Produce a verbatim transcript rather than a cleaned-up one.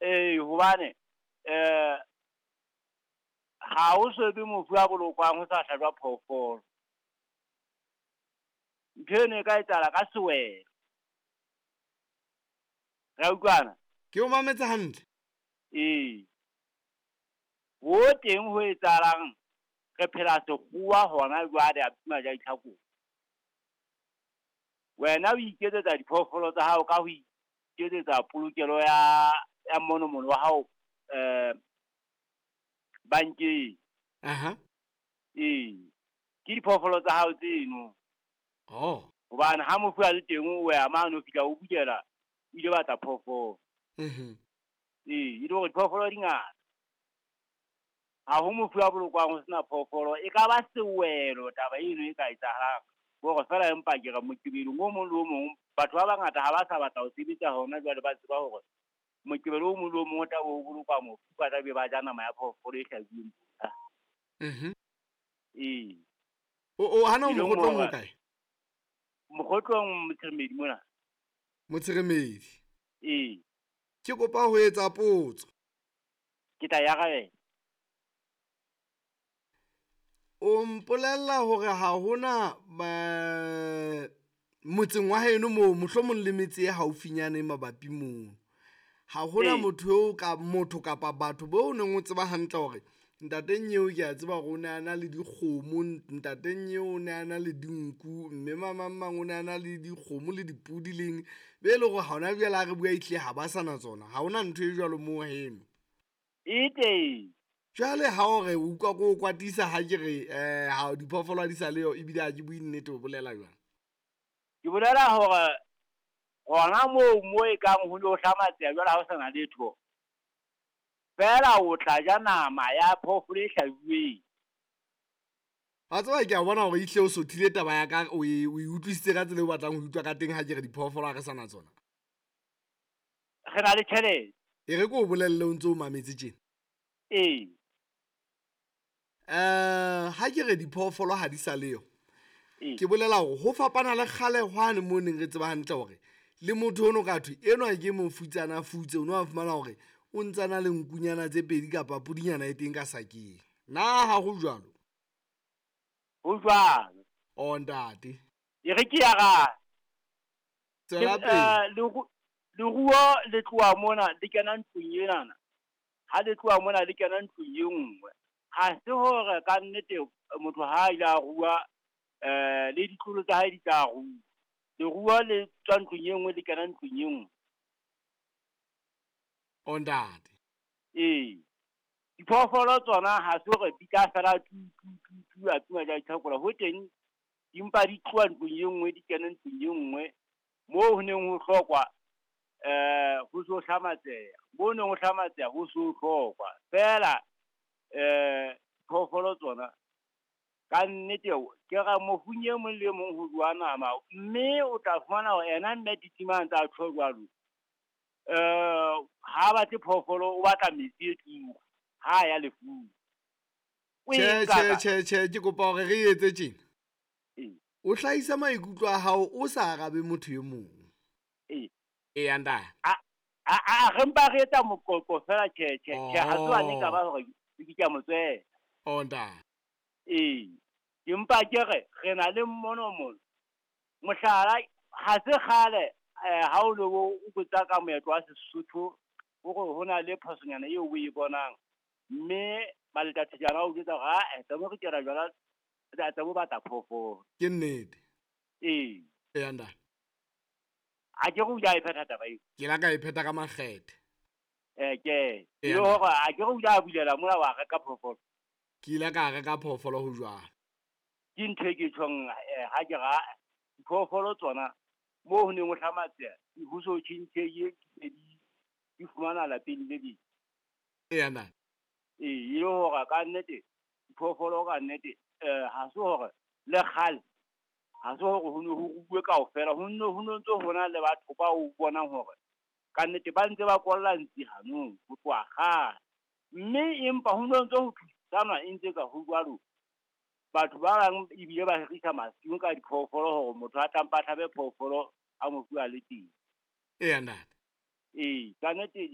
Ee, hobane eh ha o so be mofu a bolokwang ho sa hlajwa phoofolo. Ntho eno e ka etsahala ka sewelo. Re a utlwana? Ke o mametse hantle. Ee. Ho teng ho etsahalang re phela sekgowa hona jwale a Maja-Ditlhakong. Wena o iketsetsa diphoofolo tsa hao ka ho iketsetsa polokelo ya ya monomono wa hao eh bankeng. Aha. Ee. Ke diphoofolo tsa hao tseno. Oh. Hobane ha mofu a le teng o ya mane o fihla o bulela o ile batla phoofolo. Mhm. Ee, e le hore diphoofolo di ngata. Ha ho mofu a bolokwang ho sena phoofolo, e ka ba sewelo taba eno e ka etsahalang. Hore fela empa ke re Moqebelong o mong le o mong, batho ba bangata ha ba sa batla ho sebetsa hona jwale, ba tseba hore Moqebelo o mong le o mong o tla be o bolokwa mofu, ba tla be ba ja nama ya phoofolo e hlajuweng. Mhm. Ee. O o hana E leng mokgotlong hore- o kae? Mokgotlong Motsheremedi mona. Motsheremedi. Ee, Ke kopa ho etsa potso. ke tla e arabela. O mpolella hore ha hona eh, motseng wa heno moo mohlomong le metse e haufinyane mabapi mono. Ha hona Ee. motho eo ka motho kapa batho bo neng o tseba hantle hore ntate Nyeo ke a tseba hore o ne a na le dikgomo, ntate Nyeo o ne a na le dinku, mme mamang mang o ne a na le dikgomo le dipudi leng. Be le hore hona jwale ha re bua ehlile ha ba sa na tsona. Ha hona ntho e jwalo moo heno. E teng. Jwale ha o re o utlwa ko o kwatisa ha ke re eh ha diphoofolo ha di sa leyo ebile ha ke bue nnete o bolela jwang? Ke bolela hore hona moo mo e kang ho no hlamatseha jwale ha ho sana letho. Feela o tla ja nama ya phoofolo e hlajuweng. Wa tseba ke a bona hore ehlile o sothile taba ya ka o e o e utlwisitse ka tsela eo o batlang ho utlwa ka teng ha ke re diphoofolo ha re sa na tsona. Re na le tjhelete. E re ke o bolelle o ntso o mametse tjena. Ee. Eh ha ke re diphoofolo ha di sa leyo. Ee. Ke bolela hore ho fapana le kgale hwane mo neng re tseba hantle hore le motho ono ka thwe enwa ke mofutsana futse o no a fumana hore o ntsana le nkunyana tse pedi kapa pudinyana e teng ka sakeng. Na ha ho jwalo? Ho jwalo. O ntate. E re ke ya ra. Tswela pele. Eh, leru- leruo le tloha mona le kena ntlong enana. Ha le tloha mona le kena ntlong e nngwe. Ha se hore ka nnete motho ha a ile a rua eh le ditlolo tsa hae di tla rua. Leruo le tswa ntlong e nngwe le kena ntlong e nngwe. O ntate. Ee. Diphoofolo tsona ha se hore di tla fela tu tu tu tu a tuma ja ditlhakola. Ho teng di mpa di tloha ntlong e nngwe di kena ntlong e nngwe. Moo ho neng ho hlokwa eh ho so hlamatseha. Moo neng ho hlamatseha ho so hlokwa. Feela eh diphoofolo tsona ka nnete ke ra mofung e mong le e mong ho jowa nama, mme o tla fumana hore ena mme titima a ntse a tjho jwalo. Eh ha batle phoofolo o batla metsi e turu ha ya lefung. O e Tjhe nka tjhe ka- tjhe tjhe ke kopa hore re etse tjena. Ee. O hlahisa maikutlo a hao o sa arabe motho e mong. Ee. Eya ntate. A a a re mpa re etsa moqoqo fela tjhe tjhe tjhe ha se wane ka ba hore ke ke a mo tswela. O ntate. Ee. Ke mpa ke re re na le mmono mona. Mohlala ha se kgale eh ha o lo o botsa ka moetlo wa Sesotho hore ho na le phosonyana eo o e bonang mme baletathejana o jwetsa hore ah tsa mo re kera jwala tsa mo batla phoofolo. Ke nnete. Ee. Eya ntate. Ha ke re o ile a e phetha taba eo. Ke la ka e phetha ka makgethe. Eh ke. Eya, E le hore ha ke re o ile a bulela mona wa reka phoofolo. Ke ile ka reka phoofolo ho jwalo. Ke ntho e ke tjhong eh ha ke ra diphoofolo tsona moo ho neng ho hlamatseha ho so tjhentjheye di di fumana lapeng le leng. Eya ntate. Ee, e le hore ka nnete diphoofolo ka nnete eh ha se hore le kgale ha se hore ho ne ho ruuwe kaofela, ho nno ho no ntso ho na le batho ba o bonang hore ka nnete ba ntse ba kolla ntsi hanong ho tloha kgale. Mme empa ho no ntso ho thusanwa e ntse ka ho jwalo. Batho ba bang ebile ba hirisa masimo ka diphoofolo hore motho a tlampa a hlabe phoofolo a mofu a le teng. Eya ntate. Ee, ka nnete